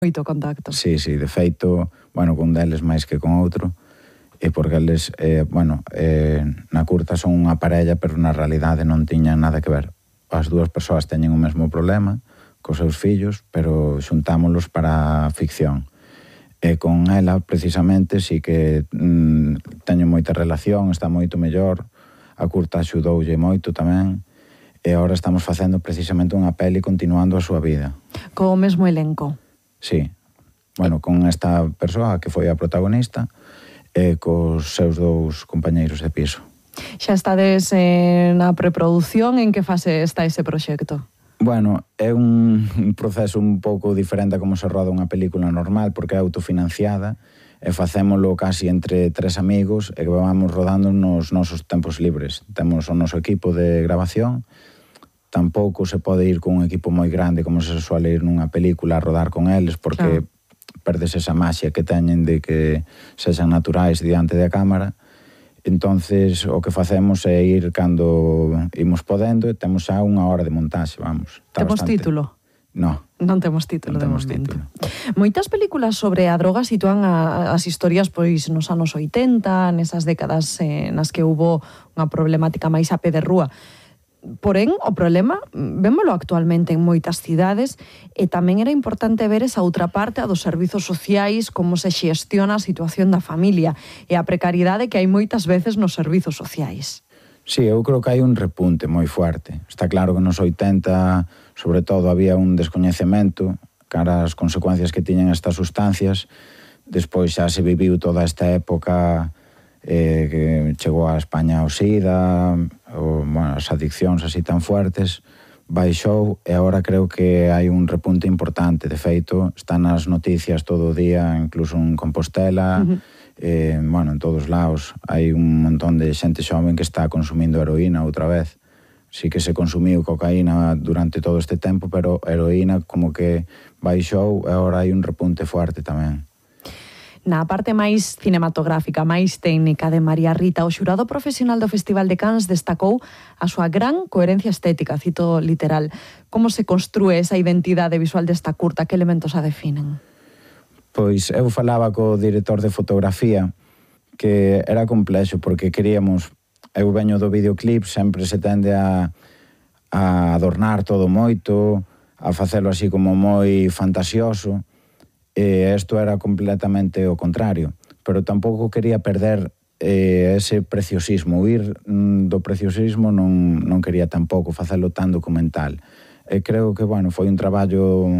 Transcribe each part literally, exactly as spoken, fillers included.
moito contacto. Sí, sí, de feito, bueno, con deles máis que con outro, e porque eles, eh, bueno, eh, na curta son unha parella, pero na realidade non tiñan nada que ver. As dúas persoas teñen o mesmo problema cos seus fillos, pero xuntámolos para a ficción. E con ela, precisamente, sí que mm, teño moita relación, está moito mellor, a curta axudoulle moito tamén, e agora estamos facendo precisamente unha peli continuando a súa vida. Co mesmo elenco. Sí, bueno, con esta persoa que foi a protagonista e cos seus dous compañeiros de piso. Xa estades eh, na preproducción, en que fase está ese proxecto? Bueno, é un, un proceso un pouco diferente a como se roda unha película normal, porque é autofinanciada e facémolo casi entre tres amigos e que vamos rodando nos nosos tempos libres. Temos o noso equipo de grabación. Tampouco se pode ir con un equipo moi grande como se suele ir nunha película a rodar con eles, porque claro, perdes esa maxia que teñen de que sexan naturais diante da cámara. Entonces, o que facemos é ir cando imos podendo e temos xa unha hora de montaxe, vamos. Temos bastante... título? No. Non temos título non de temos momento. Título. Moitas películas sobre a droga sitúan a, as historias pois nos anos oitenta, nesas décadas eh, nas que hubo unha problemática máis a pé de rúa. Porén, o problema, vémolo actualmente en moitas cidades, e tamén era importante ver esa outra parte, a dos servizos sociais, como se xestiona a situación da familia e a precariedade que hai moitas veces nos servizos sociais. Sí, eu creo que hai un repunte moi fuerte. Está claro que nos oitenta, sobre todo, había un descoñecemento cara ás consecuencias que tiñan estas sustancias. Despois xa se viviu toda esta época eh, que chegou a España o SIDA, o, bueno, as adiccións así tan fuertes, baixou e agora creo que hai un repunte importante. De feito, están nas noticias todo o día, incluso en Compostela, uh-huh. eh, bueno, en todos lados. Hai un montón de xente xoven que está consumindo heroína outra vez. Sí que se consumiu cocaína durante todo este tempo, pero heroína como que baixou e agora hai un repunte fuerte tamén. Na parte máis cinematográfica, máis técnica de María Rita, o xurado profesional do Festival de Cannes destacou a súa gran coherencia estética, cito literal. Como se construe esa identidade visual desta curta? Que elementos a definen? Pois eu falaba co director de fotografía que era complexo porque queríamos, eu veño do videoclip, sempre se tende a, a adornar todo moito, a facelo así como moi fantasioso, e isto era completamente o contrario, pero tampouco quería perder eh, ese preciosismo, huir mm, do preciosismo non, non quería tampouco facelo tan documental. E creo que, bueno, foi un traballo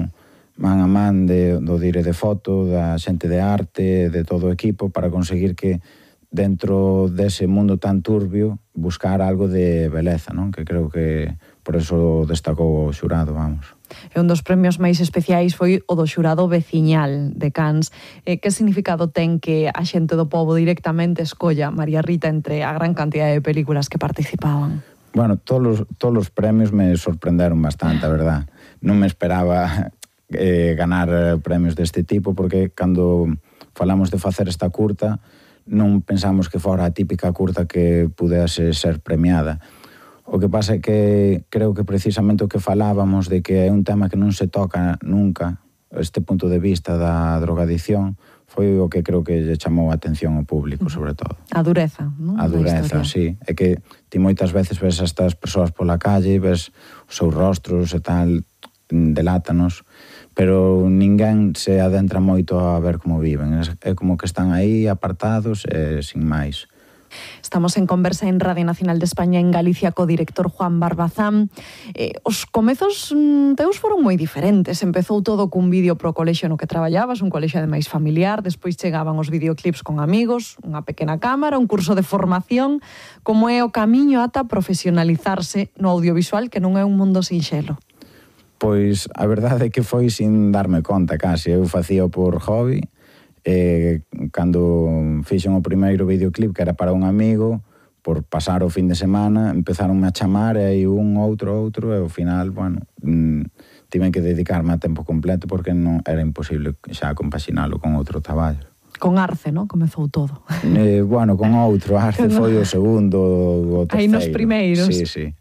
man a man de, do dire de foto, da xente de arte, de todo o equipo, para conseguir que dentro dese mundo tan turbio buscar algo de beleza, non? Que creo que por eso destacou o xurado, vamos. E un dos premios máis especiais foi o do xurado veciñal de Cannes. Eh, que significado ten que a xente do pobo directamente escolla María Rita entre a gran cantidad de películas que participaban? Bueno, todos, todos os premios me sorprenderon bastante, a verdad. Non me esperaba eh, ganar premios deste tipo, porque cando falamos de facer esta curta, non pensamos que fora a típica curta que pudese ser premiada. O que pasa é que creo que precisamente o que falábamos de que é un tema que non se toca nunca, este punto de vista da drogadicción, foi o que creo que lle chamou a atención ao público, sobre todo. A dureza, non? A dureza, sí. É que ti moitas veces ves a estas persoas pola calle, ves os seus rostros e tal, delátanos, pero ninguén se adentra moito a ver como viven. É como que están aí apartados e sin máis. Estamos en conversa en Radio Nacional de España en Galicia co director Juan Barbazán. Eh, os comezos mm, teus foron moi diferentes. Empezou todo cun vídeo pro colexio no que traballabas, un colexio ademais familiar, despois chegaban os videoclips con amigos, unha pequena cámara, un curso de formación. Como é o camiño ata profesionalizarse no audiovisual, que non é un mundo sinxelo? Pois a verdade é que foi sin darme conta casi. Eu facía por hobby. E cando fixen o primeiro videoclip, que era para un amigo, por pasar o fin de semana, empezaronme a chamar e aí un, outro, outro, e ao final, bueno, mmm, tiven que dedicarme a tempo completo porque non era imposible xa compaxinalo con outro traballo. Con Arce, non? Comezou todo. Eh, bueno, con outro, Arce foi o segundo, o terceiro. Aí nos primeiros. Sí, sí.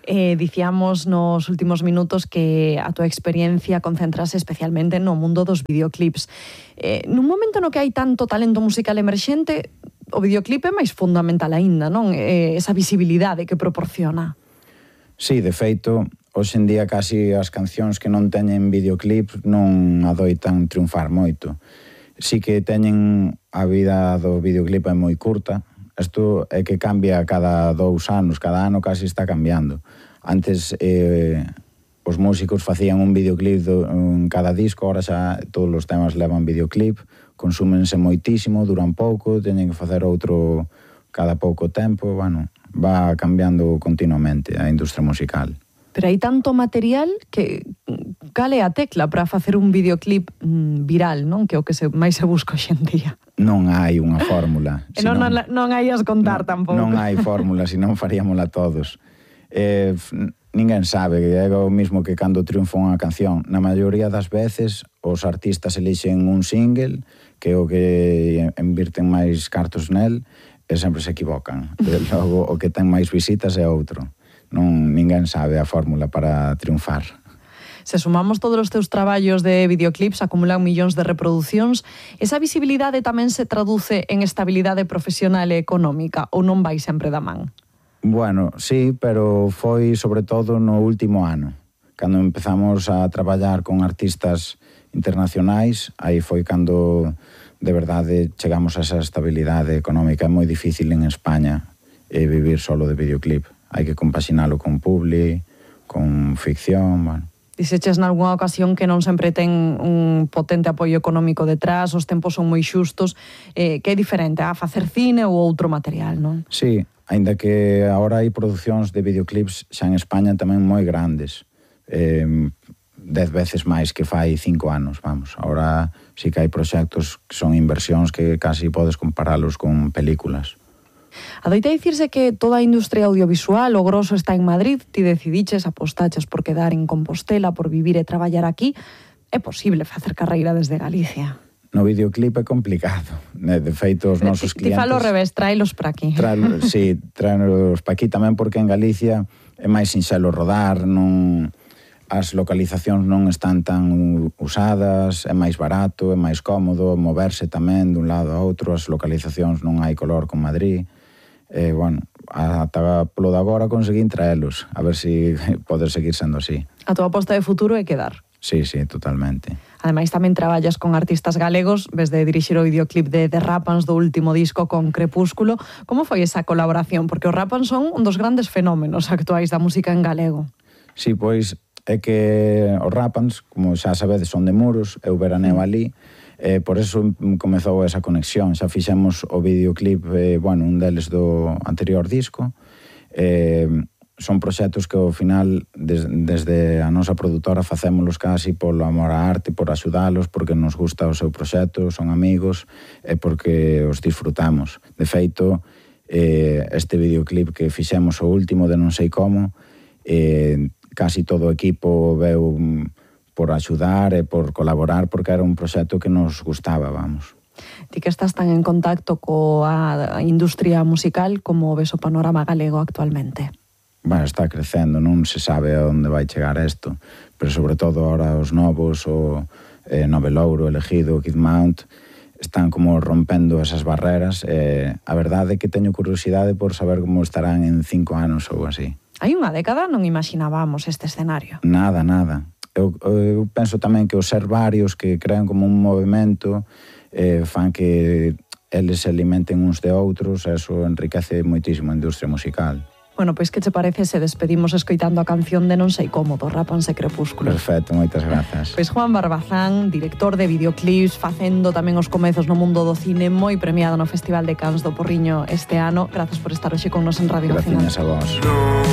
Eh, dicíamos nos últimos minutos que a túa experiencia concentrase especialmente no mundo dos videoclips. Eh, nun momento no que hai tanto talento musical emerxente, o videoclip é máis fundamental aínda, non? Eh, esa visibilidade que proporciona. Sí, de feito, hoxe en día casi as cancións que non teñen videoclip non adoitan triunfar moito. Sí que teñen a vida do videoclip é moi curta. Isto é que cambia cada dous anos, cada ano casi está cambiando. Antes eh, os músicos facían un videoclip do, en cada disco, ahora xa todos os temas levan videoclip, consúmense moitísimo, duran pouco, teñen que facer outro cada pouco tempo, bueno, va cambiando continuamente a industria musical. Pero hai tanto material que cal é a tecla para facer un videoclip mm, viral, non? Que é o que se, máis se busca hoxe en día. Non hai unha fórmula. E non, non, non hai as contar non, tampouco. Non hai fórmula, senón faríamola todos. Eh, ninguén sabe, é o mismo que cando triunfa unha canción. Na maioría das veces, os artistas elixen un single, que é o que invirten máis cartos nel, e sempre se equivocan. E logo, o que ten máis visitas é outro. Non, ninguén sabe a fórmula para triunfar. Se sumamos todos os teus traballos de videoclips, acumulan millóns de reproducións, esa visibilidade tamén se traduce en estabilidade profesional e económica, ou non vai sempre da man? Bueno, sí, pero foi sobre todo no último ano. Cando empezamos a traballar con artistas internacionais, aí foi cando de verdade chegamos a esa estabilidade económica. É moi difícil en España eh, vivir solo de videoclip. Hai que compaxinalo con publi, con ficción, bueno. Dixeches nalgúna ocasión que non sempre ten un potente apoio económico detrás, os tempos son moi xustos, eh, que é diferente a facer cine ou outro material, non? Sí, aínda que agora hai producións de videoclips xa en España tamén moi grandes, eh, dez veces máis que fai cinco anos, vamos. Agora sí que hai proxectos que son inversións que casi podes comparalos con películas. Adoita dicirse que toda a industria audiovisual, o grosso está en Madrid, ti decidiches, apostaches por quedar en Compostela, por vivir e traballar aquí. É posible facer carreira desde Galicia? No videoclip é complicado. De feito, os nosos clientes... Ti clientes... falo ao revés, tráelos para aquí. Trae, sí, tráelos para aquí tamén porque en Galicia é máis sinxelo rodar, non... as localizacións non están tan usadas, é máis barato, é máis cómodo, moverse tamén dun lado a outro, as localizacións non hai color con Madrid. E, bueno, ata polo de agora conseguín traelos, a ver se si pode seguir sendo así. A tua aposta de futuro é quedar? Sí, sí, totalmente. Ademais, tamén traballas con artistas galegos, ves de dirixir o videoclip de The Rapans do último disco con Crepúsculo. Como foi esa colaboración? Porque os Rapans son un dos grandes fenómenos actuais da música en galego. Sí, pois é que os Rapans, como xa sabedes, son de Muros, eu veraneo ali, eh, por eso comezou esa conexión. Xa fixemos o videoclip, eh, bueno, un deles do anterior disco. Eh, son proxectos que ao final, des, desde a nosa produtora, facémolos casi polo amor á arte, por axudalos, porque nos gusta o seu proxecto, son amigos, e porque os disfrutamos. De feito, eh, este videoclip que fixemos o último de Non sei como, eh, casi todo o equipo veu por axudar e por colaborar porque era un proxecto que nos gustaba, vamos. Ti que estás tan en contacto coa industria musical, como ves o panorama galego actualmente? Bueno, está crecendo, non se sabe a onde vai chegar isto, pero sobre todo ahora os novos, o eh, Novelouro, Elegido, Kid Mount, están como rompendo esas barreras. Eh, a verdade é que teño curiosidade por saber como estarán en cinco anos ou así. Hai unha década non imaginábamos este escenario. Nada, nada. Eu, eu penso tamén que os ser varios que crean como un movimento eh, fan que eles se alimenten uns de outros, e eso enriquece moitísimo a industria musical. Bueno, pois que che parece se despedimos escoitando a canción de Non sei como, do Rapans e Crepúsculo? Perfecto, moitas grazas. Pois Juan Barbazán, director de videoclips, facendo tamén os comezos no mundo do cine, moi premiado no Festival de Cannes do Porriño este ano. Grazas por estar hoxe con nos en Radio Nacional. Gracias a vos.